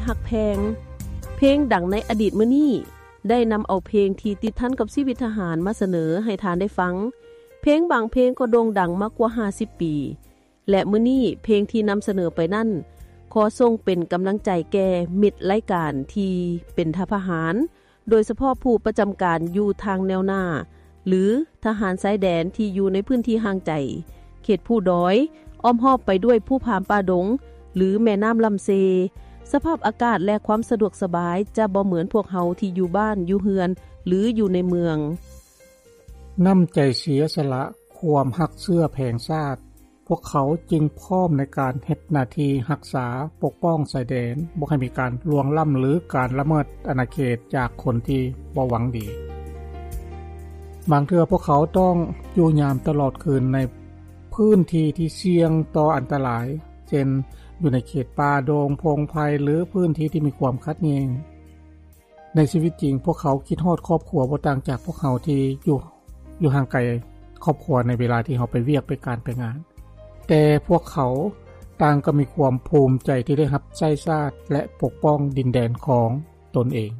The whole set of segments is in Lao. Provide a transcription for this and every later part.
ຮັກແພງ. ເພງດັງໃນອະດີດມື້ນີ້ ໄດ້ນຳເອົາເພງທີ່ຕິດພັນກັບຊີວິດທະຫານມາສະເໜີໃຫ້ທ່ານໄດ້ຟັງ. ເພງບາງເພງກໍໂດ່ງດັງມາກວ່າຫ້າສິບປີ ແລະ ມື້ນີ້ເພງທີ່ນຳສະເໜີໄປນັ້ນ ຂໍສົ່ງເປັນກຳລັງໃຈແກ່ມິດລາຍການທີ່ເປັນທະຫານ ໂດຍສະເພາະຜູ້ປະຈຳການຢູ່ທາງແນວໜ້າ ຫຼື ທະຫານຊາຍແດນທີ່ຢູ່ໃນພື້ນທີ່ຫ່າງໄກ, ເຂດພູດອຍ, ອ້ອມຮອບໄປດ້ວຍພູຜາປ່າດົງ ຫຼື ແມ່ນ້ຳລຳເຊ. ສະພາບອາກາດ ແລະ ຄວາມສະດວກສະບາຍຈະບໍ່ເໝືອນພວກເຮົາທີ່ຢູ່ບ້ານ, ຢູ່ເຮືອນ ຫຼື ຢູ່ໃນເມືອງ. ນ້ຳໃຈເສຍສະຫຼະ, ຄວາມຮັກເຊື້ອແຜງຊາດ, ພວກເຂົາຈຶ່ງພ້ອມໃນການເຮັດໜ້າທີ່ຮັກສາປົກປ້ອງຊາຍແດນ, ບໍ່ໃຫ້ມີການລ່ວງລ້ຳ ຫຼື ການລະເມີດອານາເຂດຈາກຄົນທີ່ບໍ່ຫວັງດີ. ບາງເທື່ອພວກເຂົາຕ້ອງຢູ່ຍາມຕະຫຼອດຄືນໃນພື້ນທີ່ທີ່ສ່ຽງຕໍ່ອັນຕະລາຍ, ເຊັ່ນ ຢູ່ໃນເຂດປ່າດົງ, ພົງໄພ ຫຼື ພື້ນທີ່ທີ່ມີຄວາມຂັດແຍ່ງ. ໃນຊີວິດຈິງ, ພວກເຂົາຄິດຮອດຄອບຄົວບໍ່ຕ່າງຈາກພວກເຮົາທີ່ຢູ່ ຢູ່ຫ່າງໄກຄອບຄົວໃນເວລາທີ່ເຮົາໄປວຽກ, ໄປການ, ໄປງານ. ແຕ່ພວກເຂົາຕ່າງກໍມີຄວາມພູມໃຈທີ່ໄດ້ຮັບໃຊ້ຊາດ ແລະ ປົກປ້ອງດິນແດນຂອງຕົນເອງ.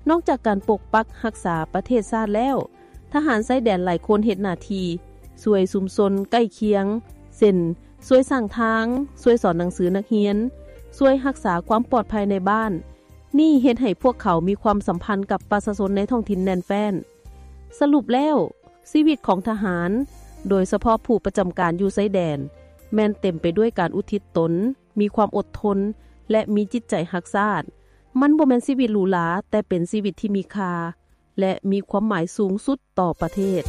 ນອກຈາກການປົກປັກຮັກສາປະເທດຊາດແລ້ວ, ທະຫານຊາຍແດນຫຼາຍຄົນເຮັດໜ້າທີ່ຊ່ວຍຊຸມຊົນໃກ້ຄຽງ, ເຊັ່ນ ຊ່ວຍສ້າງທາງ, ຊ່ວຍສອນໜັງສືນັກຮຽນ, ຊ່ວຍຮັກສາຄວາມປອດໄພໃນບ້ານ. ນີ້ເຮັດໃຫ້ພວກເຂົາມີຄວາມສຳພັນກັບປະຊາຊົນໃນທ້ອງຖິ່ນແໜ້ນແຟ້ນ. ສະຫຼຸບແລ້ວ, ຊີວິດຂອງທະຫານ, ໂດຍສະເພາະຜູ້ປະຈຳການຢູ່ຊາຍແດນ, ແມ່ນເຕັມໄປດ້ວຍການອຸທິດຕົນ, ມີຄວາມອົດທົນ ແລະ ມີຈິດໃຈຮັກຊາດ. ມັນບໍ່ແມ່ນຊີວິດຫຼູຫຼາ, ແຕ່ເປັນຊີວິດທີ່ມີຄ່າ ແລະ ມີຄວາມໝາຍສູງສຸດຕໍ່ປະເທດ.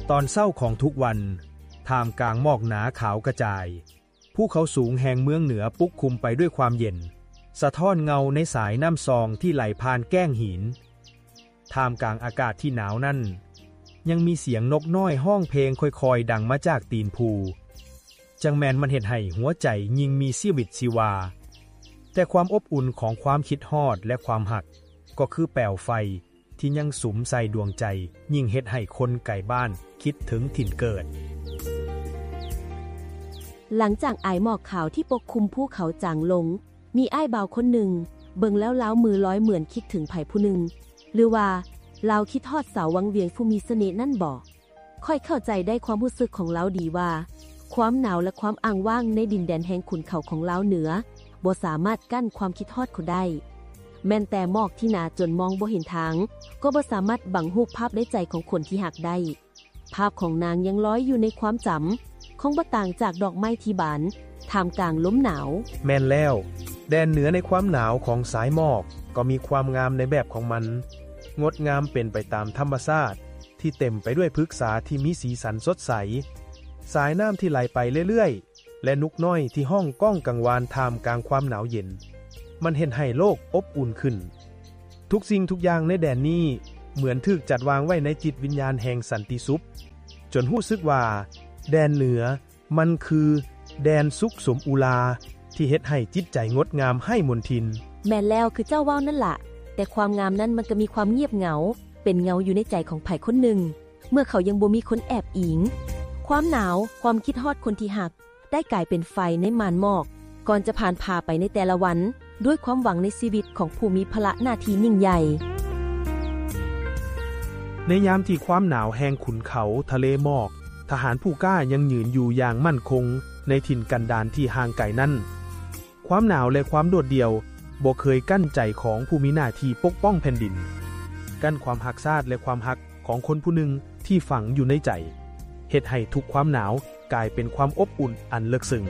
ຕອນເຊົ້າຂອງທຸກວັນ, ທ່າມກາງໝອກໜາຂາວກະຈາຍ, ພູເຂົາສູງແຫ່ງເມືອງເໜືອປົກຄຸມໄປດ້ວຍຄວາມເຢັນ, ສະທ້ອນເງົາໃນສາຍນ້ຳຊອງທີ່ໄຫຼຜ່ານແກ້ງຫີນ. ທ່າມກາງອາກາດທີ່ໜາວນັ້ນ, ຍັງມີສຽງນົກນ້ອຍຮ້ອງເພງຄ່ອຍໆດັງມາຈາກຕີນພູ. ຈັ່ງແມ່ນມັນເຮັດໃຫ້ຫົວໃຈຍິ່ງມີຊີວິດຊີວາ. ແຕ່ຄວາມອົບອຸ່ນຂອງຄວາມຄິດຮອດ ແລະ ຄວາມຮັກ ກໍຄືແປວໄຟທີ່ຍັງສຸມໃສ່ດວງໃຈ, ຍິ່ງເຮັດໃຫ້ຄົນໄກບ້ານຄິດເຖິງຖິ່ນເກີດ. ຫຼັງຈາກອາຍໝອກຂາວທີ່ປົກຄຸມພູເຂົາຈາງລົງ, ມີອ້າຍບ່າວຄົນໜຶ່ງ, ເບິ່ງແລ້ວລາວມືລອຍເໝືອນຄິດເຖິງໃຜຜູ້ໜຶ່ງ, ຫຼືວ່າລາວຄິດຮອດສາວວັງວຽງຜູ້ມີສະເໜ່ນັ້ນບໍ? ຂ້ອຍເຂົ້າໃຈໄດ້ຄວາມຮູ້ສຶກຂອງລາວດີວ່າ ຄວາມໜາວ ແລະ ຄວາມອ້າງວ່າງໃນດິນແດນແຫ່ງຂຸນເຂົາຂອງລາວເໜືອ ບໍ່ສາມາດກັ້ນຄວາມຄິດຮອດເຂົາໄດ້. ແມ່ນແຕ່ໝອກທີ່ໜາຈົນມອງບໍ່ເຫັນທາງ ກໍບໍ່ສາມາດບັງຮູບພາບໃນໃຈຂອງຄົນທີ່ຮັກໄດ້. ພາບຂອງນາງຍັງລອຍຢູ່ໃນຄວາມຈຳ, ຄົງບໍ່ຕ່າງຈາກດອກໄມ້ທີ່ບານທ່າມກາງລົມໜາວ. ແມ່ນແລ້ວ, ແດນເໜືອໃນຄວາມໜາວຂອງສາຍໝອກກໍມີຄວາມງາມໃນແບບຂອງມັນ, ງົດງາມເປັນໄປຕາມທຳມະຊາດທີ່ເຕັມໄປດ້ວຍພຶກສາທີ່ມີສີສັນສົດໃສ, ສາຍນ້ຳທີ່ໄຫຼໄປເລື້ອຍໆ ແລະ ນົກນ້ອຍທີ່ຮ້ອງກ້ອງກັງວານທ່າມກາງຄວາມໜາວເຢັນ. ມັນເຮັດໃຫ້ໂລກອົບອຸ່ນຂຶ້ນ. ທຸກສິ່ງທຸກຢ່າງໃນແດນນີ້ເໝືອນຖືກຈັດວາງໄວ້ໃນຈິດວິນຍານແຫ່ງສັນຕິສຸກ, ຈົນຮູ້ສຶກວ່າແດນເໜືອມັນຄືແດນສຸກສົມອຸລາທີ່ເຮັດໃຫ້ຈິດໃຈງົດງາມໄຮ້ມົນທິນ. ແມ່ນແລ້ວ, ຄືເຈົ້າເວົ້ານັ້ນລະ, ແຕ່ຄວາມງາມນັ້ນມັນກໍມີຄວາມງຽບເຫງົາ, ເປັນເຫງົາຢູ່ໃນໃຈຂອງໃຜຄົນໜຶ່ງ, ເມື່ອເຂົາຍັງບໍ່ມີຄົນແອບອີງ. ຄວາມໜາວ, ຄວາມຄິດຮອດຄົນທີ່ຮັກ, ໄດ້ກາຍເປັນໄຟໃນມ່ານໝອກ ກ່ອນຈະຜ່ານພາໄປໃນແຕ່ລະວັນ ດ້ວຍຄວາມຫວັງໃນຊີວິດຂອງຜູ້ມີພາລະໜ້າທີ່ຍິ່ງໃຫຍ່. ໃນຍາມທີ່ຄວາມໜາວແຫ່ງຂຸນເຂົາທະເລໝອກ, ທະຫານຜູ້ກ້າຍັງຍືນຢູ່ຢ່າງໝັ້ນຄົງໃນຖິ່ນກັນດານທີ່ຫ່າງໄກນັ້ນ. ຄວາມໜາວ ແລະ ຄວາມໂດດດ່ຽວບໍ່ເຄີຍກັ້ນໃຈຂອງຜູ້ມີໜ້າທີ່ປົກປ້ອງແຜ່ນດິນ, ກັ້ນຄວາມຮັກຊາດ ແລະ ຄວາມຮັກຂອງຄົນຜູ້ໜຶ່ງທີ່ຝັງຢູ່ໃນໃຈ, ເຮັດໃຫ້ທຸກຄວາມໜາວກາຍເປັນຄວາມອົບອຸ່ນອັນເລິກເຊິ່ງ.